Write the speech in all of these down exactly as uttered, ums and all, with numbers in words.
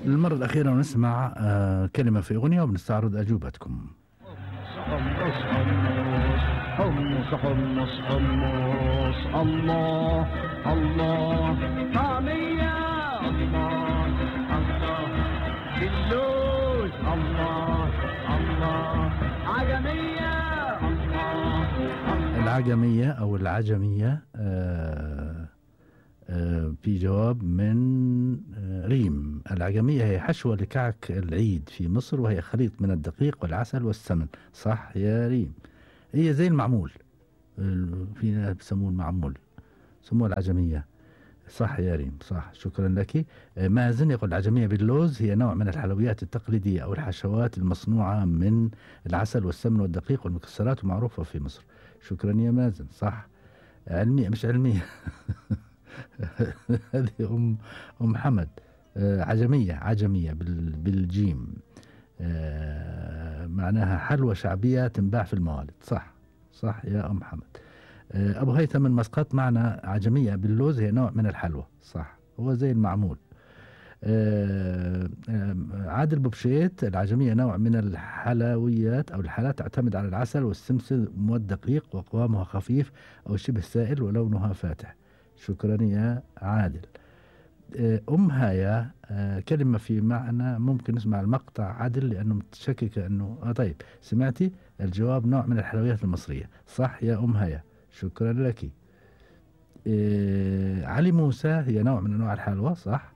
للمرة الأخيرة نسمع آه كلمة في أغنية وبنستعرض أجوبتكم. حمص حمص حمص حمص الله الله طعمية الله الله باللوز الله الله عجمية الله. العجمية أو العجمية آه آه في جواب من آه ريم. العجمية هي حشوة لكعك العيد في مصر، وهي خليط من الدقيق والعسل والسمن. صح يا ريم، هي زي المعمول، في ناس بسموه المعمول، سموها العجمية. صح يا ريم، صح، شكرا لك. مازن يقول العجمية باللوز هي نوع من الحلويات التقليدية أو الحشوات المصنوعة من العسل والسمن والدقيق والمكسرات، ومعروفة في مصر. شكرا يا مازن، صح. علمية مش علمية. هذه أم أم حمد. عجمية عجمية بالجيم، معناها حلوى شعبية تنباع في الموالد. صح صح يا أم حمد. أبو هيثم من مسقط معنا عجمية باللوز هي نوع من الحلوى. صح، هو زي المعمول. عادل بوبشيت العجمية نوع من الحلويات أو الحالات تعتمد على العسل والسمسم والدقيق، وقوامها خفيف أو شبه سائل ولونها فاتح. شكرا يا عادل. أم هايا كلمة في معنى، ممكن نسمع المقطع عادل لأنه متشكك أنه آه طيب سمعتي الجواب. نوع من الحلويات المصرية. صح يا أم هايا، شكرا لك. إيه علي موسى هي نوع من أنواع الحلوى. صح.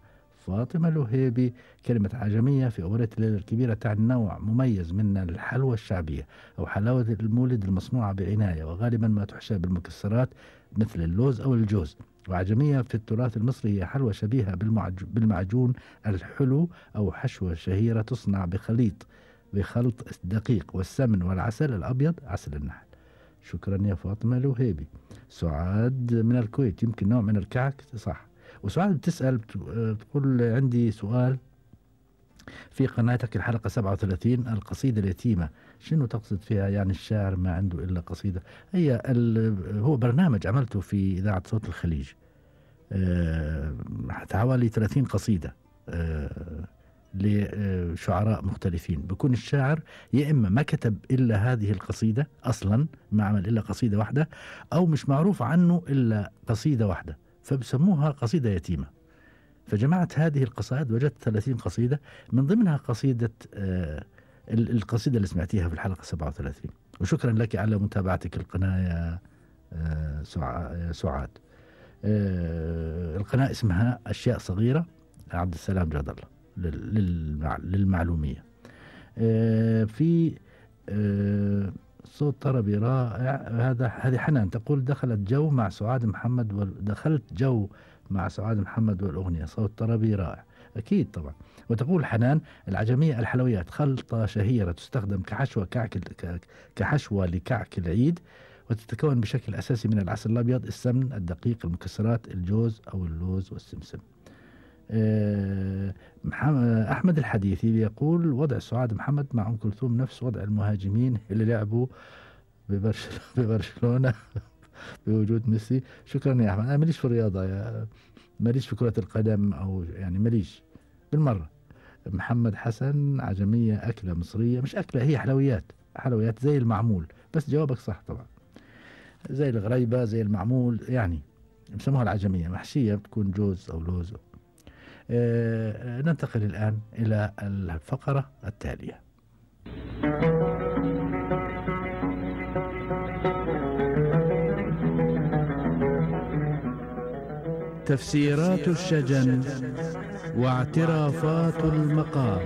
فاطمة الوهيبي كلمة عجمية في أغنية الليلة الكبيرة تعني نوع مميز من الحلوى الشعبية أو حلاوة المولد المصنوعة بعناية، وغالبا ما تحشى بالمكسرات مثل اللوز أو الجوز. وعجمية في التراث المصري هي حلوى شبيهة بالمعجون الحلو أو حشوة شهيرة تصنع بخليط بخلط الدقيق والسمن والعسل الأبيض، عسل النحل. شكرا يا فاطمة الوهيبي. سعاد من الكويت يمكن نوع من الكعك. صح. وسعاد بتسأل بتقول عندي سؤال في قناتك الحلقة سبعة وثلاثين القصيدة اليتيمة شنو تقصد فيها؟ يعني الشاعر ما عنده إلا قصيدة؟ هي هو برنامج عملته في إذاعة صوت الخليج، أه حوالي ثلاثين قصيدة أه لشعراء مختلفين. بكون الشاعر يا إما ما كتب إلا هذه القصيدة أصلا، ما عمل إلا قصيدة واحدة، أو مش معروف عنه إلا قصيدة واحدة، فبسموها قصيدة يتيمة. فجمعت هذه القصائد وجدت ثلاثين قصيدة، من ضمنها قصيدة آه القصيدة اللي سمعتيها في الحلقة سبعة وثلاثين. وشكرا لك على متابعتك القناة يا آه سعاد. آه القناة اسمها أشياء صغيرة عبد السلام جاد الله للمعلومية. آه في آه صوت طربي رائع. هذا هذه حنان تقول دخلت جو مع سعاد محمد ودخلت جو مع سعاد محمد والأغنية، صوت طربي رائع. أكيد طبعا. وتقول حنان العجمية الحلويات خلطة شهيرة تستخدم كحشوة كعك كحشوة لكعك العيد، وتتكون بشكل أساسي من العسل الأبيض، السمن، الدقيق، المكسرات، الجوز أو اللوز والسمسم. أحمد الحديثي يقول وضع سعاد محمد مع أم كلثوم نفس وضع المهاجمين اللي لعبوا ببرشلونة بوجود ميسي. شكرا يا أحمد. أنا ماليش في الرياضة، يا ماليش في كرة القدم، أو يعني ماليش بالمرة. محمد حسن عجمية أكلة مصرية، مش أكلة، هي حلويات، حلويات زي المعمول. بس جوابك صح طبعا، زي الغريبة زي المعمول، يعني بسموها العجمية، محشية بتكون جوز أو لوز. آه ننتقل الآن إلى الفقرة التالية. تفسيرات الشجن واعترافات المقام.